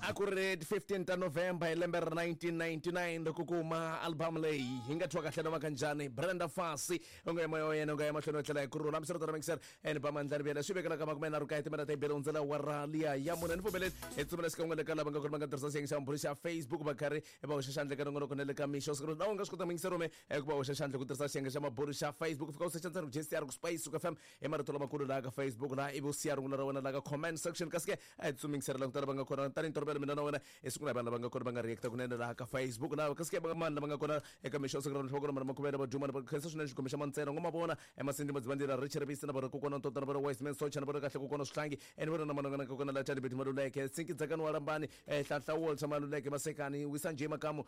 A ku ri 15 ta November hi lembe ra 1999 loko ku huma album leyi hi nga thyiwa kahle noma kanjhani. Brenda Fassie u nga ya moya wa yena u nga ya mahlweni wa tlhela hi kurhula. Hambiswiritano mixer and ba mandlani vuyela swi vekela ka 39 timinete hi bele hundzela wa ra liya ya mune. Ni pfumeleli hi tsumbela xikan'we le ka lava nga kona va nga tirhisa xiyenge xa mbhuri xa Facebook va karhi va hoxa xandla eka nongonoko na le ka mixo siku na u nga swi kota muyingiseri ume ku va hoxa xandla ku tirhisa xiyenge xa mabulu xa Facebook. Fika u secha ntsena ku JCR ku Spice ku FM hi marito lamakulu laha ka Facebook laha ivi u siya rungula ra wena laha ka comment section. Kasi ke a hi tsumingisela ku tala va nga kona tanihi ntolovelo mina na wena hi siku na vanhu lava nga kona va nga reacta kunene laha ka Facebook laha. Kasi ke mani lava nga kona eka mixo siku ra va kona mana makhuvela va duma va khensa swinene xigomo xa mantsena ngo mavona emasindi madzivandila Richard Bisi na vona kokwana Ntota na vona Wiseman Socha na vona kahle kokwana Swihlangi ene vona na manongana kokwana la Tani Beti Maluleke Sinki Dzakani wa Lambani Hlanhla Walter Maluleke Masekani Wisa Nje Makamu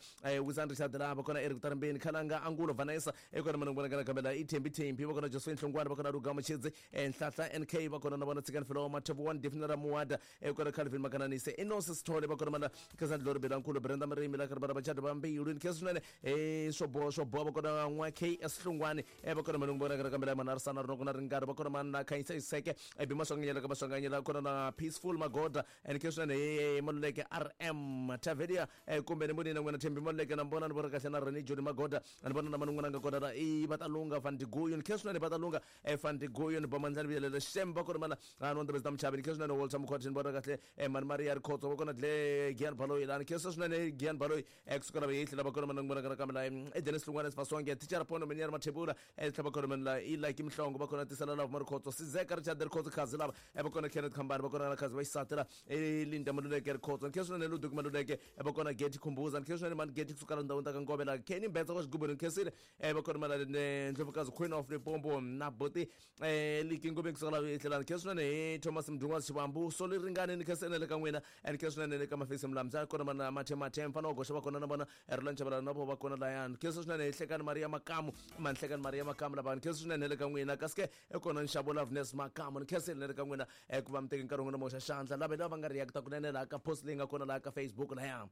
Wisan Richard laha va kona Eric Tarambeni Khalanga Angulo Vanessa ekona manongana kana kambe la i Thembi Thembi va kona Josephine Hlongwane va kona Lugamo Chidzi Nhlahla NK va kona na vona Tsikani Filowa Mathobo 1 Defina Muwada ekona Calvin Makananise Inosi Sithole va kona mana Khensani Dlori Belankulu Brenda Mrimi la karhi va vachati va mbilu ni khensa swinene swo boha swo boha va kona n'wa KS Hlongwane va kona manungu vona kana kambe la mana Arisana Rinoko na Ringari va kona mana Khanyisa Iseke Bi Maswanganyela ka Maswanganyela kona na Peaceful Magoda ni khensa swinene Maluleke RM Tavelia kumbe ni vonile n'wina Thembi Maluleke na mbona ni vona kahle na Rene Joni Magoda ni vona na manungu nga kona la i Vatalunga Van Diguyo ni khensa swinene Vatalunga Van Diguyo ni Bomandlani Vuyelela Shem va kona mana a ni ta muchavi ni khensa swinene Walter Mkhwati ni vona kahle Mani Maria Rikhotso va kona Dle Gian Baloyi la ni khensa swinene Gian Baloyi kusuka lava yehli lava kona manungu vona kana kambe la i Dennis Hlungwane Sifasonge Teacher Pono Minyari Mathebula tlhela va kona mani la i Lucky Mhlongo va kona Tisela Love Marikhotso Sizeka Richard Rikhotso Khazi lava va kona Kenneth Khambani va kona na Khazi va xisati la Linda Maluleke Rikhotso ni khensa swinene Ludwig Maluleke va kona Getty Khumbuza ni khensa swinene mani Getty kusuka la ndhawini ta ka Ngove la Kenny Mbetsa wa xigubu ni khensile va kona mana Ndlovukazi Queen of Limpopo na Buti Liki Ngobeni kusuka la tlhela ni khensa swinene hi Thomas Mdungwazi Xivambu Soli Ringani ni khensa le ka n'wina ni khensa swinene le ka Mafisi Mlamza kona mana Mathe Mathe mfana wa goxa va kona na vona Roland Chabalala na vo va kona layani khensa swinene hi Hlekani Maria Makamu mani Hlekani Maria Makamu lava ni khensa swinene le ka n'wina kasi ke kona nxavo Loveness Makamu ni khensile le ka n'wina ku va mi teke nkarhi wa n'wina mo hoxa xandla lava lava nga reacta kunene laha ka post leyi nga kona laha ka Facebook laya.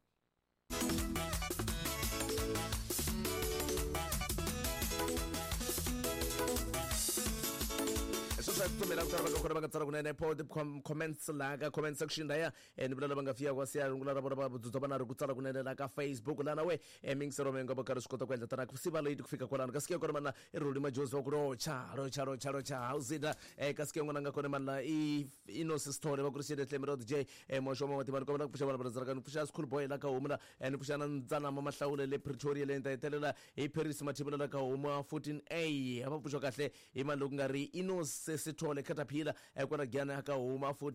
Sweswi a tsutsumela ku tala va nga kona va nga tsala kunene pod comments laha ka comment section laya ni vula lava nga fika kwa siya rungula ra vona va dzudza va na ri ku tsala kunene laha ka Facebook lana we mingisero mi nga va karhi swi kota ku endla tana ku siva late ku fika kwalano kasi ke kona mana i Roli Majozi wa ku rocha rocha rocha rocha howzita kasi ke n'wana nga kona mana i Inosi Sithole va ku ri xele Tlemi Rod J moxo wa matimba ni kombela ku pfuxa vana va rhandzaka ni pfuxa School Boy la ka homu la ni pfuxa na Ntsanama Mahlawule le Pretoria le ni ta hetelela hi Paris Mathibela la ka homu 14A va pfuxa kahle hi mali loko nga ri Inosi Sithole Caterpillar kwala Giyani ka huma 14.